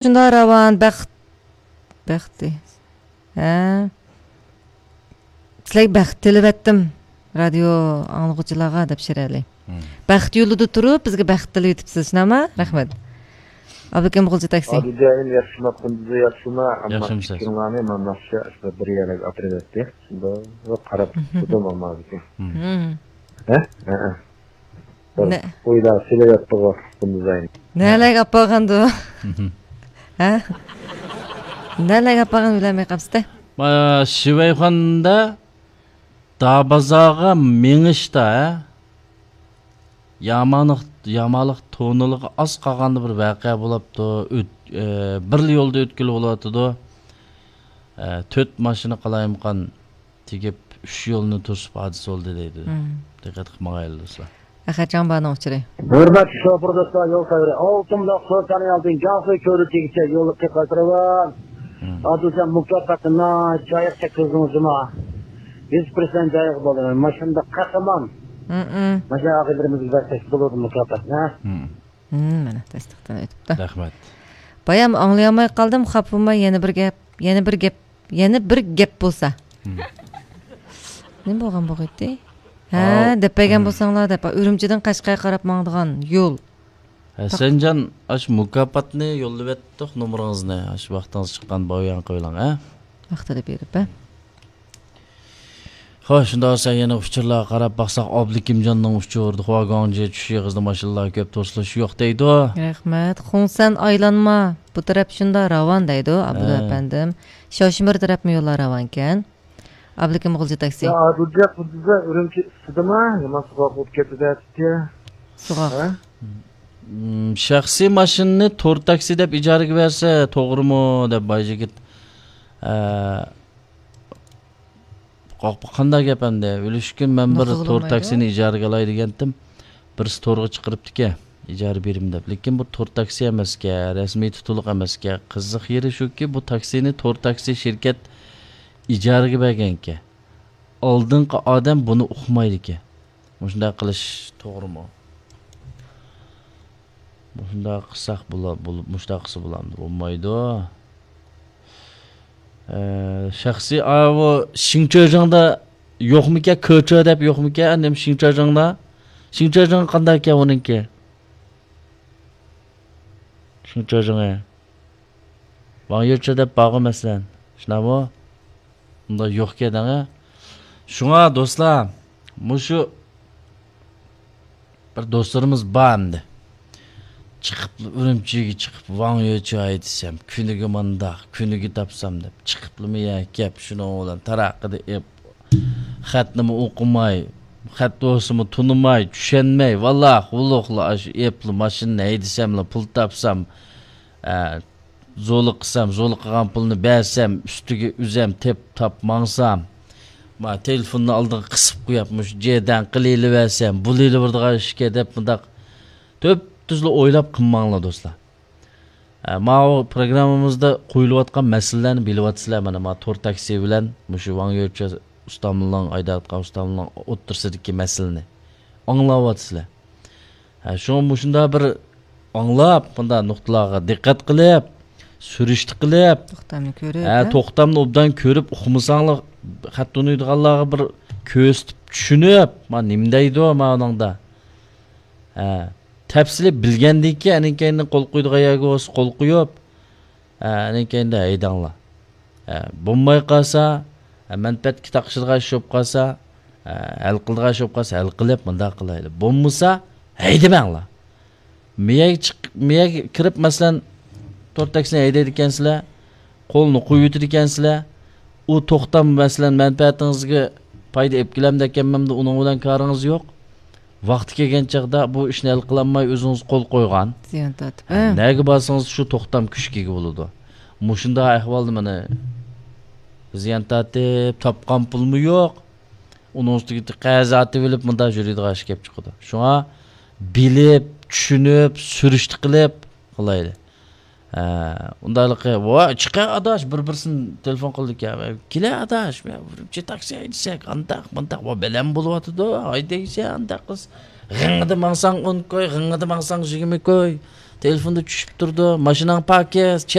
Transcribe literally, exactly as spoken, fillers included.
شۇنداق راۋان، بەخت، بەختى. ھە. سىلەرگە بەخت تىلىۋەتتىم، رادىيو ئاڭلىغۇچىلارغا، دەپ شىرئەلى. مم. بەخت يولىدا تۇرۇپ، بىزگە بەخت تىلىۋېتىپسىز، شۇنداقمۇ؟ رەھمەت. ئابلىكىم غۇلجا تاكسى. ئادىل جاھىل، ياخشىما، قۇندۇزى ياخشىما؟ ئەمما ياخشىمۇسىز؟ پىكرىڭلارنى مانا ناخشا بىر يەرلەرگە ئاپىرىۋەتتى. شۇنداق قاراپ تۇردۇم، ئەمما بۈگۈن. مم. ھە؟ ھە، ھە. بىر نە- ئويلار سېلىۋەتتىغۇ، قۇندۇزاينى. نەلەرگە ئاپارغاندۇ؟ ھە؟ نەلەرگە ئاپارغان ئويلىماي قاپسىز-دە. ما، شىۋەيخاندا دابازاغا مېڭىشتا، ھە؟ يامانلىق، يامانلىق توننىلىقى ئاز قالغاندا بىر ۋەقە بولۇپتۇ. ئۆت-، ئە، بىرلا يولدا ئۆتكىلى بولۇۋاتىدۇ. ئە، تۆت ماشىنا قالايمىقان تېگىپ، ئۈچ يولنى توسۇپ ھادىسە بولدى دەيدۇ. مم. دىققەت قىلىپ ماڭايلى دوستلار. ئەخەتجان بارنىڭ ئۇچۇرى. ھۆرمەتلىك شوپۇر دوستلار، يول سەۋرى ئالتۇن بۇلاق سۇ كانالىدىن جياڭسۇ كۆۋرۈكىگىچە يوللۇق قاتناۋان. مم. ئادىلجان، مۇكاپاتنى ناھايىتى جايىغا تەككۈزدىڭىز جۇما. يۈز پىرسەنت جايىغا بولدى. ماشىنىدا قەھرىمان. مم. ماشىنا ئاغىنىلىرىمىزگە بەرسەك بولىدۇ مۇكاپاتنى. مم. مم، مانا، تەستىقتىن ئۆتۈپتۇ. رەھمەت. بايام ئاڭلىيالماي قالدىم، خاپا بولماي، يەنە بىر گەپ، يەنە بىر گەپ، يەنە بىر گەپ بولسا. مم. نېمە بولغان بولغىيتتى؟ ھە، ئاۋ. دەپ بەرگەن مم. بولساڭلار دەپ، ئۈرۈمچىدىن قەشقەرگە قاراپ ماڭىدىغان يول. ھەسەنجان، ئاشۇ مۇكاپاتنى يوللىۋەتتۇق، نومۇرىڭىزنى. ئاشۇ ۋاقتىڭىز چىققان بايان قويۇڭ، ھە؟ ۋاقتىدا بېرىپ، ھە؟ خوش، شۇنداق بولسا يەنە ئۇچۇرلارغا قاراپ باقساق، ئابلىكىمجاننىڭ ئۇچۇرىدا خۇاگۇاڭجى چۈش ئېغىزدا ماشىنىلار كۆپ، توسۇلۇش يوق دەيدۇ. رەھمەت. خۇڭسەن ئايلانما، بۇ تەرەپ شۇنداق راۋان دەيدۇ، ئابدۇ ھە. ئەپەندىم. شاۋشىمىر تەرەپمۇ يوللار راۋانكەن. ئابلىكىم غۇلجا تاكسى. يا، ئادىلجان، بۇ بىزدە ئۈرۈمچى ئۈستىدىمۇ؟ يامان سوغۇق بولۇپ كەتتى دەپتۇ. سوغۇق. ھە؟ مم، شەخسىي ماشىنىنى تور تاكسى دەپ ئىجارىگە بەرسە توغرىمۇ؟ دەپ بايجىگىت. ئە، قاق-، قانداق گەپ ئەمدى؟ ئۈلۈشكۈن مەن بىر نوقۇل تور بولمايدۇ. تاكسىنى ئىجارىگە ئالاي دېگەنتىم. بىرسى تورغا چىقىرىپتىكەن، ئىجارە بېرىمەن دەپ. لېكىن بۇ تور تاكسى ئەمەسكەن، رەسمىي تۇتۇلۇق ئەمەسكەن. قىزىق يېرى شۇكى، بۇ تاكسىنى تور تاكسى شىركەت ئىجارىگە بەرگەنكەن. ئالدىنقى ئادەم بۇنى ئۇقمايدىكەن. مۇشۇنداق قىلىش توغرىمۇ؟ مۇشۇنداق قىلساق بولا-، بول-، مۇشۇنداق قىلسا بولامدۇ؟ بولمايدۇ. ئە، شەخسىي، ئاۋۇ شىڭچېجىڭدا يوقمىكەن؟ كېچې دەپ يوقمىكەن؟ نېمە شىڭچېجىڭدا؟ شىڭچېجىڭ قانداق ئىكەن ئۇنىڭكى؟ شىڭچېجىڭى. ۋاڭ يۆچې دەپ بارغۇ مەسىلەن. شۇنداقمۇ؟ ئۇنداق يوقكەن دەڭە. شۇڭا دوستلار، مۇشۇ بىر دوستلىرىمىز بار ئەمدى. چىقىپ، ئۈرۈمچىگە چىقىپ، ۋاڭ يۆچې ھەيدىسەم، كۈنىگە مانداق، كۈنىگە تاپسام دەپ، چىقىپلىمۇ يەكەپ، شۇنىڭ بىلەن تاراققىدە ئېپ، خەتنىمۇ ئوقۇماي، خەت بولسىمۇ تونۇماي، چۈشەنمەي، ۋالاق-ۋۇلۇقلا ئاشۇ ئېپلا ماشىنىنى ھەيدىسەملا پۇل تاپسام، ئە، زولۇق قىلسام، زولۇق قىلغان پۇلنى بەرسەم، ئۈستىگە ئۆزەم تېپ تاپ ماڭسام، ما تېلېفوننى ئالدىغا قىسىپ قويۇپ، مۇشۇ جېدەن قىلىۋېرسەم، بولۇۋېرىدىغان ئىشكەن دەپ، مۇنداق تۈپتۈزلا ئويلاپ قىلماڭلار، دوستلار. ئە، ماۋۇ پروگراممىمىزدا قويۇلۇۋاتقان مەسىلىلەرنى بىلىۋاتىسىلەر، مانا، ما تور تاكسى بىلەن مۇشۇ ۋاڭ يۆچې ئۇستامنىڭ، ھەيدەۋاتقان ئۇستامنىڭ ئوتتۇرىسىدىكى مەسىلىنى ئاڭلاۋاتىسىلەر. ھە، شۇڭا مۇشۇنداق بىر ئاڭلاپ، مۇنداق نۇقتىلارغا دىققەت قىلىپ، سۈرۈشتە قىلىپ، توختامنى كۆرۈپ، ھە، ھە؟ توختامنى ئوبدان كۆرۈپ ئۇقمىساڭلار، خەت تونۇيدىغانلارغا بىر كۆرسىتىپ، چۈشىنىپ، ما نېمە دەيدۇ، ما ئۇنىڭدا. ھە، تەپسىلىي بىلگەندىن كېيىن، ئەنىڭ كەينىدىن قول قويىدىغان يەرگە بولسا قول قويۇپ، ھە، ئەنىڭ كەينىدە ھەيدەڭلار. ھە، بولماي قالسا، ھە، مەنپەئەتكە تاقىشىدىغان ئىش بولۇپ قالسا، ھە، ھەل قىلىدىغان ئىش بولۇپ قالسا، ھەل قىلىپ، مۇنداق قىلايلى. بولمىسا، ھەيدىمەڭلار. مېيەگە چىق-، مېيەگە كىرىپ، مەسىلەن، تور تاكسىنى ھەيدەيدىكەنسىلەر، قولنى قويۇۋېتىدىكەنسىلەر. ئۇ توختام، مەسىلەن، مەنپەئەتىڭىزگە پايدا ئېلىپ كېلەمدىكەنمەمدۇ، ئۇنىڭ بىلەن كارىڭىز يوق. ۋاقتى كەلگەن چاغدا بۇ ئىشنى ھەل قىلالماي ئۆزىڭىز قول قويغان. زىيان تارتىپ، ھە، ھە؟ نەگە بارسىڭىز شۇ توختام كۈچكە ئىگە بولىدۇ. مۇشۇنداق ئەھۋالدا مانا زىيان تارتىپ، تاپقان پۇلمۇ يوق. ئۇنىڭ ئۈستىگە قەرز ئارتىۋېلىپ مۇنداق يۈرىدىغان ئىش كېلىپ چىقىدۇ. شۇڭا بىلىپ، چۈشىنىپ، سۈرۈشتە قىلىپ قىلايلى. ھە، ئۇنداقلىقى، ۋاي، چىقە ئاداش، بىر-بىرسىنى تېلېفون قىلىدىكەن. كېلە ئاداش، مەن ئۈرۈمچى تاكسى ھەيدىسەك، ئانداق، مۇنداق، ۋا بەلەن بولۇۋاتىدۇ، ھەيدەيسەن، ئانداق قىلسا. غىڭىدا ماڭساڭ ئون كوي، غىڭىدا ماڭساڭ يىگىرمە كوي. تېلېفوندا چۈشۈپ تۇرىدۇ، ماشىناڭ پاكىز،